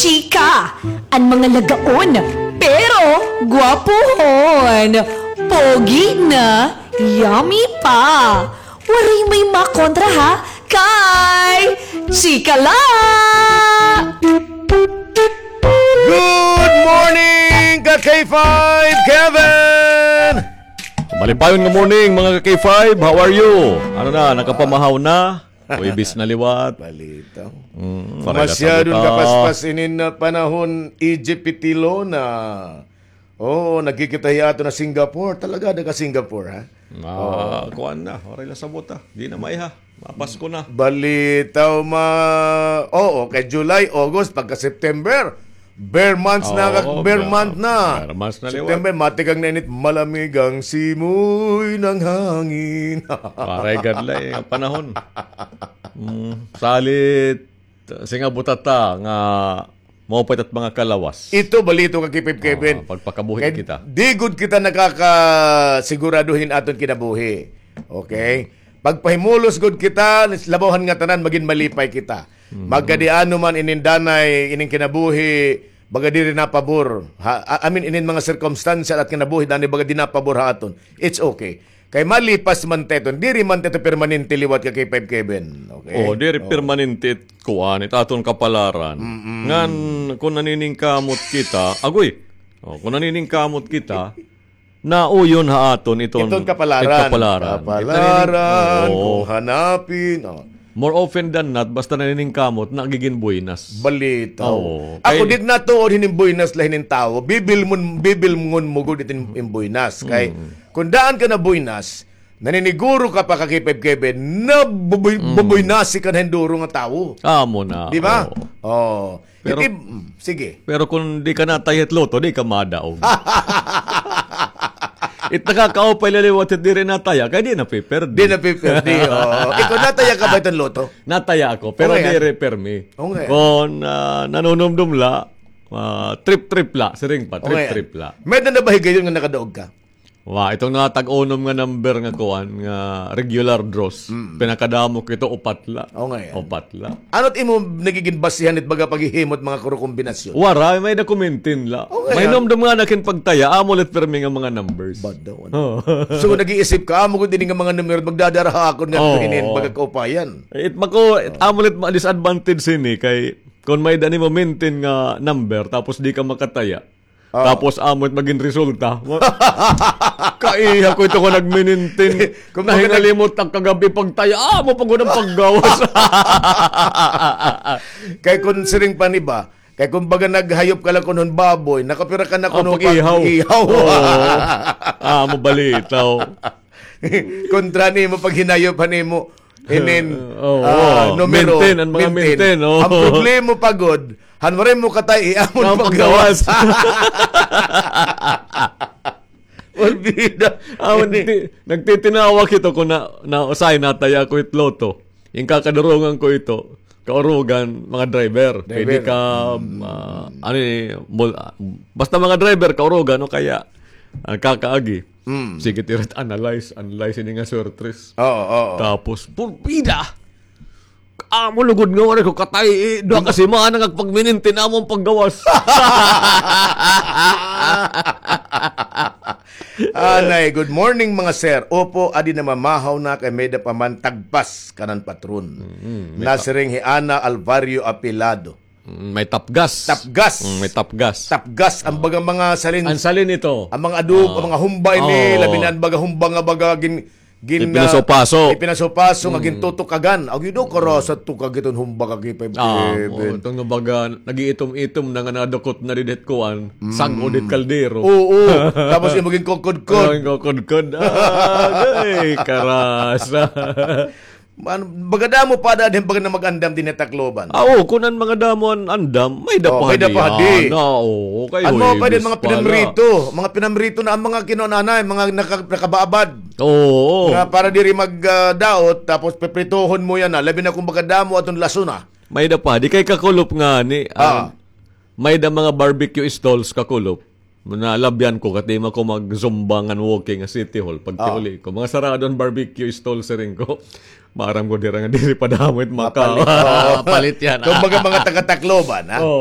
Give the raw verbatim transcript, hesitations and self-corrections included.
Chika, an mga lagaon, pero gwapohon. Pogi na, yummy pa. Waray may makontra ha, kay Chika la! Good morning, ka K five Kevin! Malipayon nga morning, mga ka K five. How are you? Ano na, nakapamahaw na? Huwebes na liwat. Balita. Mm, masyadong kapaspas inin panahon, E J Pitilona. Oo, nagkikita hiya ato na Singapore. Talaga, daga Singapore, ha? Ah, kuan na. Waray la sabot, ha? Di na maiha. Mapasko na. Balitaw ma... Oo, kay July, August, pagka September. Bear months na, kag-, bear month na. Bear months na liwat. September, matikang na init, malamig ang simoy ng hangin. Waray gad la, eh, ang panahon. Mm, salit, singa butata nga maupay it mga kalawas. Ito, balitaw ka, K five Kevin. Ah, pagpakabuhi kita. Di gud kita nakakasigurado hin aton kinabuhi. Okay? Pagpahimulos gud kita, labaw han ngatanan, magin malipay kita. Magkadiano man inin danay, inin kinabuhi, baga diri na pabor. Ha, I mean, inin mga sirkumstansya at kinabuhi, danay baga di na pabor ha aton. It's okay. Kay malipas man ta iton, diri man ta ito permanente liwat ka K five Kevin. Okay? Oh, diri permanente it kuan, it aton kapalaran. Ngan, kung naniningkamot kita, agoy, oh, kung naniningkamot kita, nauyon ha aton iton, iton kapalaran. Kapalaran. Kapalaran, kung hanapin, oh. More often than not, basta naniningkamot, nagigin buenas. Balitaw. Oo. Ako, di ak natuod hinin buenas la hinin tawo. Bibilngon, bibilngon mo gud iton buenas. Kay, kung daan ka na buenas, naniniguro ka pa ka K five Kevin, na bubuy-, bubuynasi ka na hin duro nga tawo. Amo na, di ba? Oo. Pero, sige. Pero kung di ka nataya hit lotto, di ka madaog. It nakakaupay la liwat hit diri nataya, kay di na piperdi. Di na piperdi, oo. Ikaw, nataya ka ba iton lotto? Nataya ako, pero diri permi. Kung, ah, nanunumdom la, ah, trip-trip la, siring pa, trip-trip la. May-ada na ba higayon nga nakadaog ka? Wa, iton nga tag-unom nga number nga kuan, nga regular draws. Pinakadamo kito, upat la. O, nga yan. Upat la. Ano it imo nagigin basihan it baga paghihimo hit mga kuro kombinasyon? Waray, may-ada ko maintain la. O, nga yan. Mahinumdom nga na ak hin pagtaya, amo la it pirmi nga mga numbers. Bad daw, ano? Oo. So, nag-iisip ka, amo gud ini nga mga numero, magdadara ha akon nga hinin baga kaupayan. It mako, it amo la it ma-, disadvantage hini, kay kung may-ada nimo maintain nga number, tapos di ka makataya, tapos amo it magin resulta. Kaiha ko ito nga nagminintin. Nahingalimot ak kagab-i pagtaya. Amo pa gud an paggawas. Kay kun siring pa ni ba, kay kun baga naghayop ka la kun hin baboy, nakapira ka na kun pag-ihaw. Pag-ihaw. Oo. Amo balitaw. Kontra nimo paghinayop han imo inin, ah, numero. Maintain, an mga maintain, oo. An problema pa gud, han waray mo katay, amo an paggawas. Olbida. Amo, nagtitinawag ito kun na, na usahay nataya ko it lotto. Inkakadurungan ko ito, kaurugan, mga driver. Kay di ka, ah, ano ni, basta mga driver, kaurugan, o kaya, ah, kakaagi. Sige, it ira it analyze, analyze ini nga swertres. Oo, oo. Tapos, pulbida! Amo lugod nga waray ko katay, eh, duha ka semana nga pagminintin amo an paggawas. Anay, good morning, mga sir. Opo, adi namamahaw na kay may-ada pa man tagpas kanan patron. Nasiring hi Ana Alvario Apilado. Mm, may tapgas. Tapgas. Mm, may tapgas. Tapgas, an baga mga salin. An salin ito. An mga adobo, an mga humba ini, labi na an baga humba nga baga gin-, gin-, ipinasupaso. Ipinasupaso nga gintutukagan. Agi daw karasa tukag iton humba ka K five Kevin. Ito nga baga, nag-iitom-itom na nga nadukot na didi hit kuan, sag-o didi hit kaldero. Oo. Tapos imo ginkukudkod. Ginkukudkod. Agay, karasa. Baga damo pa ada hin baga na mag-andam dinhi ha Tacloban. Ah, oo, kun an mga damo an andam, may-ada pa hadi. May-ada pa hadi. Ana, oo, kay Huwebes pa la. An mga pinamrito, mga pinamrito na an mga kinuan anay, mga naka-, nakabaabad. Oo. Nga para diri mag, ah, daot, tapos pipritohon mo yana, labi na kun baga damo aton lasona. May-ada pa hadi kay kakulop ngani, may-ada mga barbecue stalls kakulop. Nalabyan ko, kay di man ko mag-zumba ngan walking ha City Hall. Pagkauli ko, mga sarado an barbecue stall, siring ko. Maaram ko dira nga diri pa damo it makapalit yana. Kumbaga, mga taga-Tacloban, ha? Oo.